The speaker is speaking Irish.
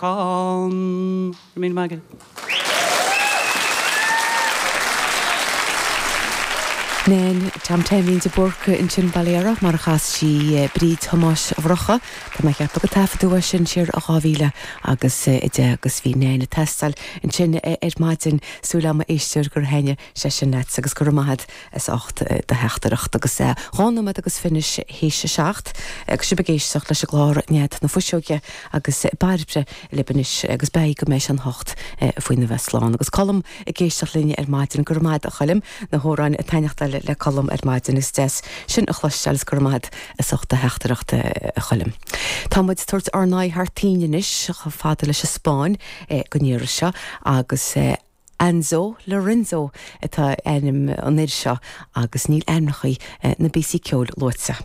Go raibh míle maith agat. Nain Tom Taimín de Búrca ansin Bolero mar a chas sí Bríd Thomáis Mhurchadh. Tá mé ag ceapadh gur taifeadadh é sin siar i 2000 agus 10 agus bhí Nain ag teastáil ansin ar maidin. Súil agam a éisteoir gur thaitnigh sé sin leat agus go raibh maith agat as ucht do theachtaireacht. Agus 2 nóiméad agus fiche théis a 7 agus sibh ag éisteacht leis an gclár Nead na Fuiseoige agus Bairbre libh anois agus beidh go mbeidh sé an 8 faoina bheith slán. Agus Colm ag éisteacht linn ar maidin. Go raibh maith agat a Choilm, na hamhráin ag taitneachtáil le Colm ar maidin. Is deas sin a chloisteáil is go raibh maith agat as ucht do theachtaireacht a Choilm. Tá muid ag tabhairt ár n-aghaidh thar toinn anois chomh fada leis an Spáinn don iarraidh seo agus Anzo Lorenzo atá ainm an fhir seo agus níl ainmneacha na bpíosaí ceoil luaite.